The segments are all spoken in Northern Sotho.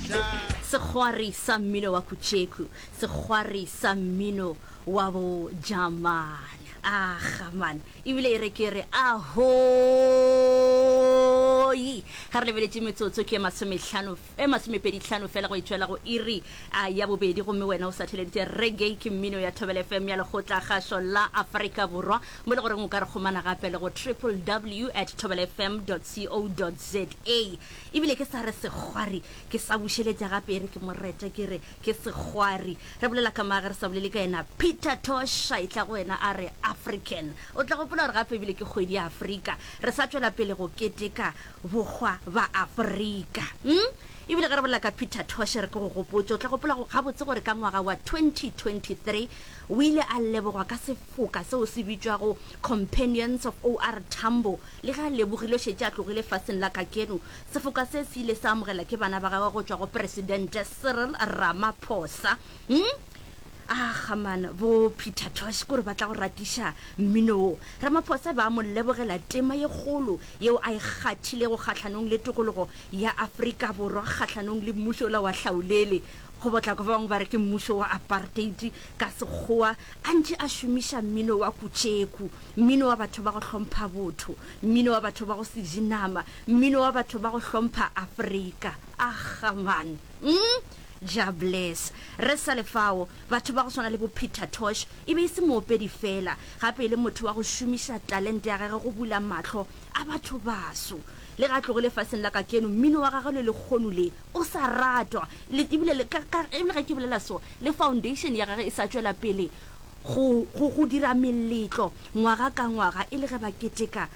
Sekgwari sa mmino wa Kutšeku, sekgwari sa mmino wa bo Jamane. Aga man, ebile e re ke re ahoi! Ge re lebeletše metsotso ke e masomehlano, e masomepedihlano fela go e tšwela go iri a ya bobedi, gomme wena o sa theleditše reggae ke mmino ya Thobela FM ya Lekgotlakgašo la Afrika Borwa, mo e le goreng o ka re kgomana gape le go www at thobelafm dot co dot za. Ebile ke sa re sekgwari, ke sa bušeletša gape e re ke mo rete ke re ke sekgwari. Re bolela ka mang ge re sa bolele ka yena Peter Tosh a etla go wena a re African. O tla gopola gore gape ebile ke kgwedi ya Afrika. Re sa tšwela pele go keteka bohwa ba Afrika. Hm? Ebile ge re bolela ka Peter Tosh re ke go gopotše, o tla gopola gabotse gore ka ngwaga wa 2023 o ile a lebogwa ka sefoka seo se bitšwago Companions of OR Tambo. Le ge a lebogile o šetše a tlogile faseng la kakeno. Sefoka se se ile sa amogela ke bana ba gagwe go tšwa go Presidente Cyril Ramaphosa. Hm? Aga man, bo Peter Tosh kore ba tla go ratiša mmino wo. Ramaphosa ba mo lebogela tema ye kgolo yeo a e kgathilego kgahlanong le tokologo ya Afrika Borwa kgahlanong le mmušo ola wa hlaolele, go botla kwa ba bangwe ba re ke mmušo wa apartheid ka Sekgowa, a ntše a šomiša mmino wa kutšeku, mmino wa batho ba go hlompha botho, mmino wa batho ba go se je nama, mmino wa batho ba go hlompha Afrika. Aga man. Umm Jah bless. Re sa le fao, batho ba go swana le bo Peter Tosh e be e se moopedi fela, gape e le motho wa go šomiša talente ya gagwe go bula mahlo a batho baso. Le ge a tlogile faseng la kakeno, mmino wa gagwe le lekgono le o sa ratwa. Le ebile le ka, ka, ebile ge ke bolela so, le foundation ya gagwe e sa tšwela pele go, go, go dira meletlo ngwaga ka ngwaga e le ge ba keteka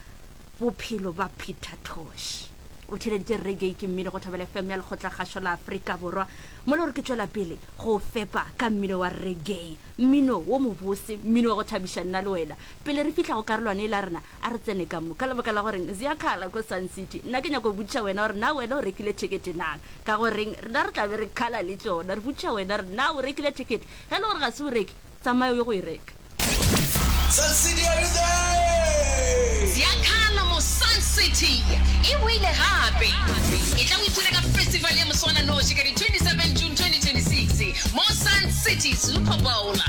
bophelo ba Peter Tosh. O theeleditše Reggae ke mmino go Thobela FM ya Lekgotlakgašo la Afrika Borwa. Mo le gore ke tšwela pele go o fepa ka mmino wa reggae, mmino wo mobose, mmino wa go thabiša nna le wena. Pele re fihla go karolwana yela rena, a re tsene ka mo. Ka lebaka la goreng Ziyakhala ko Sun City. Nna ke nyaka go botšiša wena gore na wena o rekile thekete na? Ka goreng rena re tla be re khala le tšona. Re botšiša wena re na o rekile thekete? Ge e le gore ga se o reke, Tsamaya o ye go e reka. Sun City are you there? Ziyakhala mo Sun City e boile gape! Etla o ipshine ka festival ya moswananoši ka di 27 June 2026 mo Sun City Super Bowl.